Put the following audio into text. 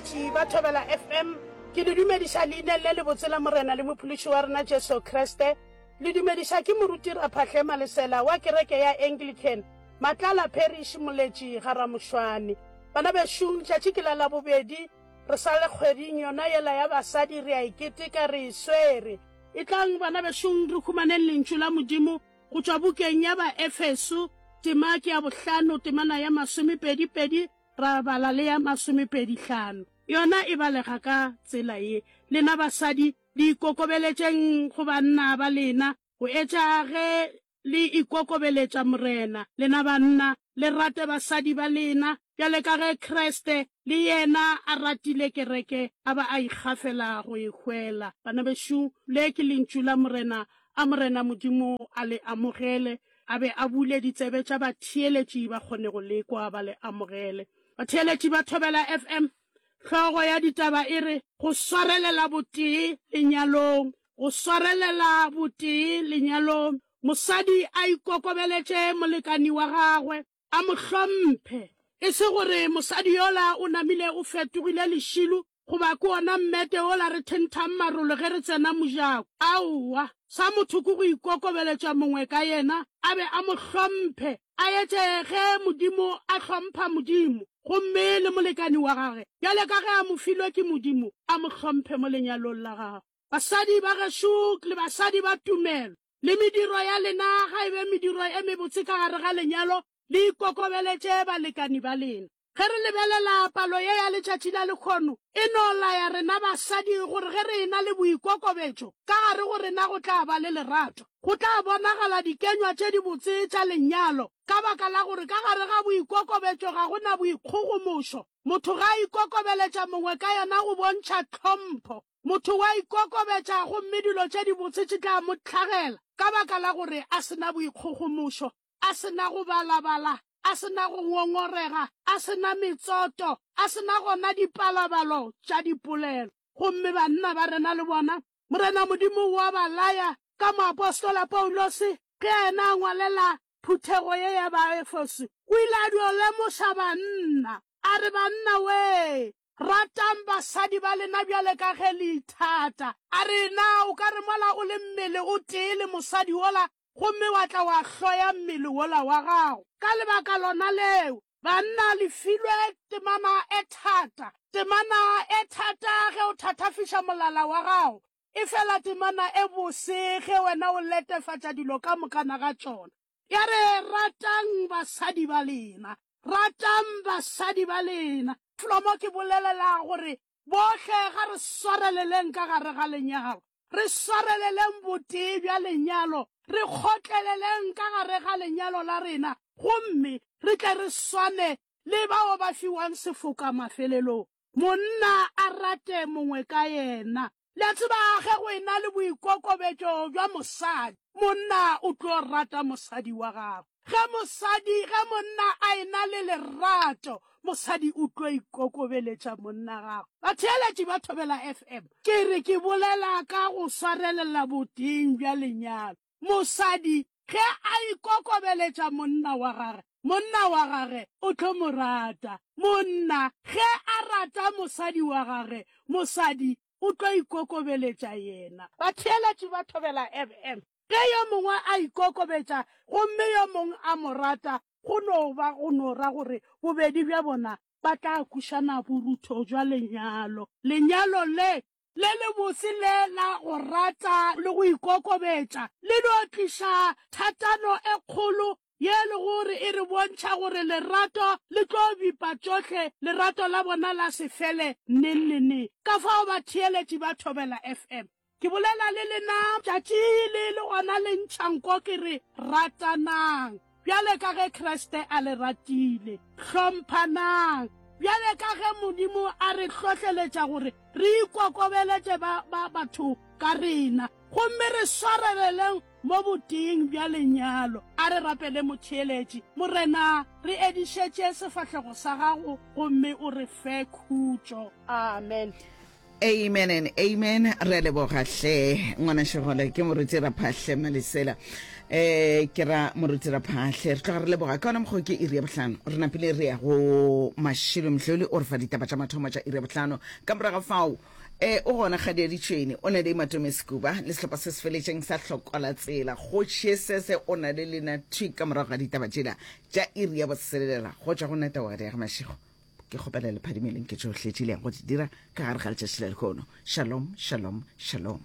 Batheeletši ba Thobela FM, ke le dumediša leineng le lebotse la Morena le Mophološi wa rena Jesu Kriste. Le dumediša ke Moruti Raphahle Malesela wa kereke ya Anglican, Matlala Parish, Moletši, ga Ramošwane. Bana bešung, tšatši ke la Labobedi, re sa le kgweding yona yela ya basadi, re a e keteka, re e swere. Etlang bana bešung re humaneng Lentšu la Modimo go tšwa bukeng ya Baefeso, tema ke ya bohlano, temana ya masomepedipedi ra bala le ya masomepedihlano. Yona e balega ka tsela ye, Lena basadi, le ikokobeletšeng go banna ba lena, go etša ge le ikokobeletša Morena. Lena banna, le rate basadi ba lena, bjale ka ge Kriste le yena a ratile kereke, a ba a ikgafela go e hwela. Bana bešo, le ke lentšu la Morena, a Morena Modimo a le amogele, a be a bule ditsebe tša batheeletši ba kgone go le kwa ba le amogele. Batheeletši ba Thobela FM, hlogo ya ditaba e re, Go swarelela botee lenyalong. Go swarelela botee lenyalong. Mosadi a ikokobeletše molekani wa gagwe, a mo hlomphe. E se gore mosadi yola o namile o fetogile lešilo goba ke wona mmete wola re thenthang marolo ge re tsena mojako. Aowa, sa motho ke go ikokobeletša mongwe ka yena, a be a mo hlomphe, a etše ge Modimo a hlompha Modimo, gomme le molekani wa gage, bjale ka ge a mo filwe ke Modimo, a mo hlomphe mo lenyalong la gagwe. Basadi ba gešo le basadi ba tumelo, le mediro ya lena ga e be mediro e mebotse ka gare ga lenyalo, le ikokobeletše balekani ba lena. Ge re lebelela palo ye ya letšatši la lekhono, e no laya rena basadi gore ge re e-na le boikokobetšo, ka gare go rena go tla ba le lerato. Go tla bonagala dikenywa tše dibotse tša lenyalo, ka baka la gore ka gare ga boikokobetšo ga go na boikgogomošo. Motho ge a ikokobeletša mongwe ka yena go bontšha tlhompho. Motho wa ikokobetša gomme dilo tše dibotse tše tla mo hlagela ka baka la gore a se na boikgogomošo. a se na go balabala, a se na go ngongorega, a se na metsoto, a se na gona dipalabalo tša dipolelo. Gomme banna ba rena le bona, Morena Modimo o a ba laya ka moapostola Paulose, ge yena a ngwalela phuthego ye ya Baefeso, o ile a dio lemoša banna, a re, Banna wee, ratang basadi ba lena bjale ka ge le ithata. A re, Na o ka re mola o le mmele o tee le mosadi wola, gomme wa tla wa hloya mmele wola wa gago. Ka lebaka lona leo, banna, le filwe temana e thata, temana e thata ge o thathafiša molala wa gago, efela temana e bose ge wena o letefatša dilo ka mokana ga tšona. Ya re, Ratang basadi ba lena. Ratang basadi ba lena. Flo mo ke bolelela gore bohle ga re swareleleng ka gare ga lenyalo. Re swareleleng botee bja lenyalo, re kgotleleleng ka gare ga lenyalo la rena, gomme re tle re swane le bao ba fiwang sefoka mafelelong. Monna a rate mongwe ka yena. Le a tseba, ge go ena le boikokobetšo bja mosadi, monna o tlo rata mosadi wa gagwe. Ge mosadi, ge monna a ena le lerato, mosadi o tlo ikokobeletša monna gagwe. Batheeletši ba Thobela FM, ke re ke bolela ka go swarelela boteeng bja lenyalo. Mosadi ge a ikokobeletša monna wa gage, monna wa gage o tlo mo rata. Monna ge a rata mosadi wa gage, mosadi o tlo ikokobeletša yena. Batheeletši ba Thobela FM, Ge yo mongwe a ikokobetša gomme yo mongwe a mo rata, go no ba go no ra gore bobedi bja bona ba tla kwešana borutho bja lenyalo. Lenyalo le le lebotse le la go rata le go ikokobetša le no tliša thatano e kgolo ye e lego gore e re bontšha gore lerato le tlo bipa tšohle, lerato la bona la se fele neng le neng. Ka fao batheeletši ba Thobela FM, ke bolela le lena tšatši le le gona le ntšha nko ke re, ratanang bjale ka ge Kriste a le ratile, hlomphanang bjale ka ge Modimo a re hlohleletša gore re ikokobeletše ba, ba batho ka rena, gomme re swareleleng Mo boteeng bja lenyalo, a re rapele motheeletši, Morena, re edišetše sefahlego sa gago gomme o re fe khutšo. Amen. Amen and amen. Re a leboga hle ngwana Šegole ke moruti Raphahle Malesela. Eh ke ra moruti Raphahle re tloga re leboga ka ona mokgwa ke iri ya bohlano. Re napile re ya go Mashilo Mhloli o re fa ditaba tša mathomo tša iri ya bohlano. Ka morago ga fao eh o gona Kgadi ya Ditšhwene o na le Matome Sekuba le sehlopha se se feletšeng sa Hlokola Tsela. Kgoši Sese o na le lena thwi ka morago ga ditaba tšela tša iri ya botshelela go tšwa go nna Tawadi ya ga Mashego. Ke kgopela le phadimeleng ke tšohle tše le yang go di dira ka gare ga letšatši la lehono. Shalom, shalom, shalom.